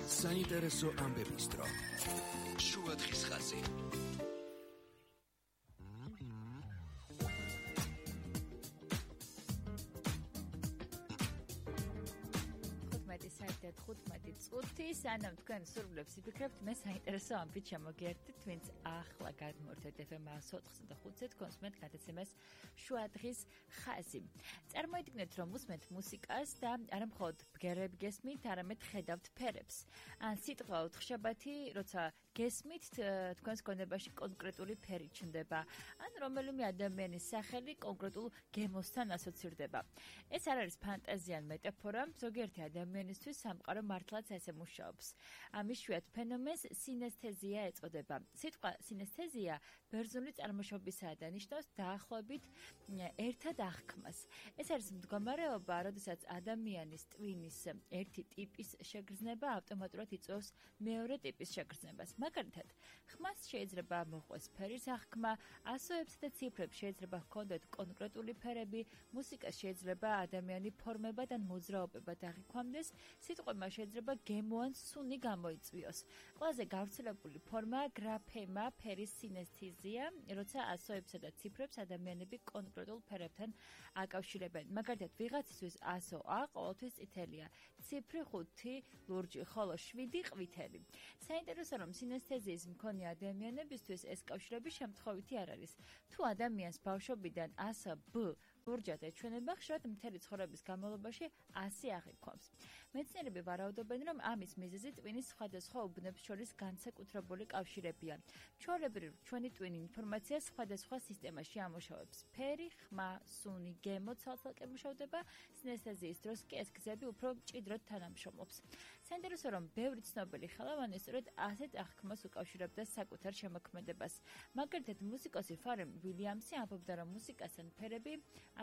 საინტერესო ამბების დრო. შუადღის ხაზი. საერთოდ 15 წუთი სანამ თქვენ სურვილებს იფიქრებთ, მე საინტერესო ამბით შემოგიერთდით, ვინც ახლა გადმოვარდეთ FM 104.5-ზე თქვენს მეტ გადაცემას შუადღის ხაზი. წარმოიდგინეთ, რომ უსმენთ მუსიკას და არა მხოლოდ ბგერები გესმით, არამედ ხედავთ ფერებს. ან სიტყვა უთხშაბათი, როცა გესმით, თქვენს გონებაში კონკრეტული ფერი ჩნდება, ან რომელიმე ადამიანის სახელი კონკრეტულ გემოსთან ასოცირდება. ეს არ არის ფანტაზია ან მეტაფორა, ზოგიერთი ადამიანისთვის სამყარო მართლაც ესე მუშაობს. ამ იშვიათ ფენომენს სინესთეზია ეწოდება. სიტყვა სინესთეზია ბერძნული წარმოშობისაა და ნიშნავს დაახლოებით ერთად აღქმას. ეს არის მდგომარეობა, როდესაც ადამიანის ტვინის ერთი ტიპის შეგრძნება ავტომატურად იწვევს მეორე ტიპის შეგრძნებას. მაგალითად, ხმას შეიძლება მოყვეს ფერის აღქმა, ასოებსა და ციფრებს შეიძლება ჰქონდეთ კონკრეტული ფერები, მუსიკას შეიძლება ადამიანი ფორმებად ან მოძრაობებად აღიქვამდეს, სიტყვებმა შეიძლება გემო ან სუნი გამოიწვიოს. ყველაზე გავრცელებული ფორმაა გრაფემა, ფერის სინესთეზია, როცა ასოებსა და ციფრებს ადამიანები კონკრეტულ ფერებთან აკავშირებენ. მაგალითად, ვიღაცისთვის ასო A ყოველთვის წითელია, ციფრი 5 ლურჯი, ხოლო 7 ყვითელი. საინტერესო რომ სინესთეზიის მქონე ადამიანებისთვის ეს კავშირები შემთხვევითი არ არის. თუ ადამიანს ბავშვობიდან ასო B ლურჯად ეჩვენება, ხშირად მთელი ცხოვრების განმავლობაში ასი აღიქვამს. მეცნიერები ვარაუდობენ, რომ ამის მიზეზი ტვინის სხვადასხვა უბნებს შორის განსაკუთრებული კავშირებია. ჩვეულებრივ, ჩვენი ტვინი ინფორმაციას სხვადასხვა სისტემაში ამუშავებს. ფერი, ხმა, სუნი, გემო ცალ-ცალკე მუშავდება, სინესთეზიის დროს კი ეს გზები უფრო მჭიდროდ თანამშრომლობს. საინტერესო რომ ბევრი ცნობილი ხელოვანი სწორედ ასეთ აღქმას უკავშირებდა საკუთარ შემოქმედებას. მაგალითად, მუსიკოსი ფარენ ვილიამსი ამბობდა, რომ მუსიკასთან ფერები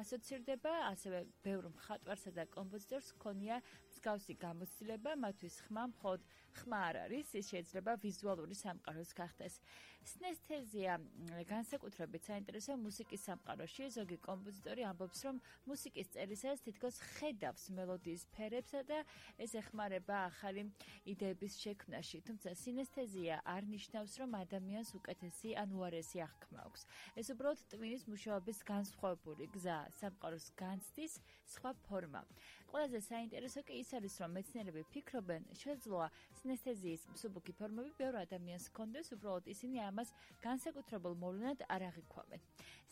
ასოცირდება, ასევე ბევრ მხატვარსა და კომპოზიტორს ჰქონია მსგავსი გამოცდილება, მათთვის ხმა მხოლოდ ხმა არ არის, ის შეიძლება ვიზუალური სამყაროს გახდეს. სინესთეზია განსაკუთრებით საინტერესო მუსიკის სამყაროში. ზოგი კომპოზიტორი ამბობს, რომ მუსიკის წერისას თითქოს ხედავს მელოდიის ფერებსა და ეს ეხმარება ახალი იდეების შექმნაში. თუმცა სინესთეზია არ ნიშნავს, რომ ადამიანს უკეთესი ან უარესი აღქმა აქვს. ეს უბრალოდ ტვინის მუშაობის განსხვავებული გზა, სამყაროს განცდის სხვა ფორმა. ყველაზე საინტერესო კი ის არის, რომ მეცნიერები ფიქრობენ, შესაძლოა სინესთეზიის მსუბუქი ფორმები ბევრ ადამიანს ჰქონდეს, უბრალოდ ისინი ამას განსაკუთრებულ მოვლენად არ აღიქვამენ.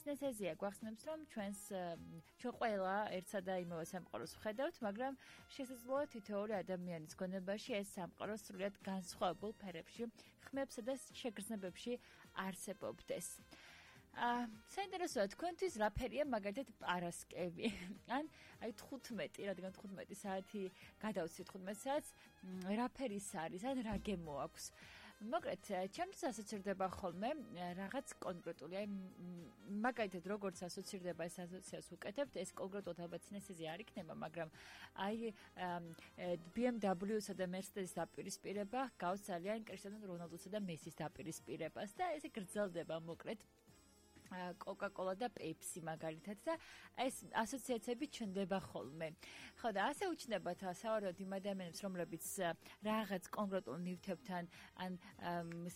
სინესთეზია გვახსენებს, რომ ჩვენ ყველა ერთსა და იმავე სამყაროს ვხედავთ, მაგრამ შესაძლოა თითოეული ადამიანის გონებაში ეს სამყარო სრულიად განსხვავებულ ფერებში, ხმებსა და შეგრძნებებში არსებობდეს. საინტერესოა თქვენთვის რა ფერია მაგალითად პარასკევი ან აი 15, რადგან 15 საათი გადავცით 15 საათს რა ფერის არის ან რა გემო აქვს. მოკლედ, ჩემთვის ასოცირდება ხოლმე რაღაც კონკრეტული, აი მაგალითად როგორც ასოცირდება ეს ასოციაციას უკეთებთ, ეს კონკრეტულად ალბათ სინესთეზია არ იქნება, მაგრამ აი BMW-სა და Mercedes-ის დაპირისპირება გავს ძალიან კრისტიანო რონალდუსა და მესის დაპირისპირებას და ესე გრძელდება მოკლედ Coca-Cola და Pepsi მაგალითად და ეს ასოციაციები ჩნდება ხოლმე. ხო და ასე უჩნდებათ სავარაუდოდ იმ ადამიანებს, რომლებიც რაღაც კონკრეტულ ნივთებთან ან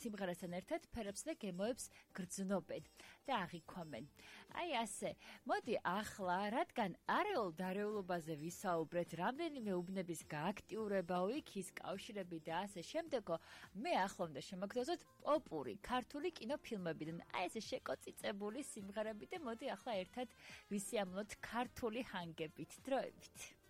სიმღერასთან ერთად ფერებს და გემოებს გრძნობენ და აღიქვამენ. აი ასე. მოდი ახლა, რადგან არეულ დარეულობაზე ვისაუბრეთ, რამდენიმე უბნების გააქტიურება, იქის კავშირები და ასე შემდეგო, მე ახლა უნდა შემოგთავაზოთ პოპური ქართული კინოფილმებიდან. აი ესე შეკოწიწებული სიმღერები და მოდი ახლა ერთად ვისიამოვნოთ ქართული ჰანგებით, დროებით.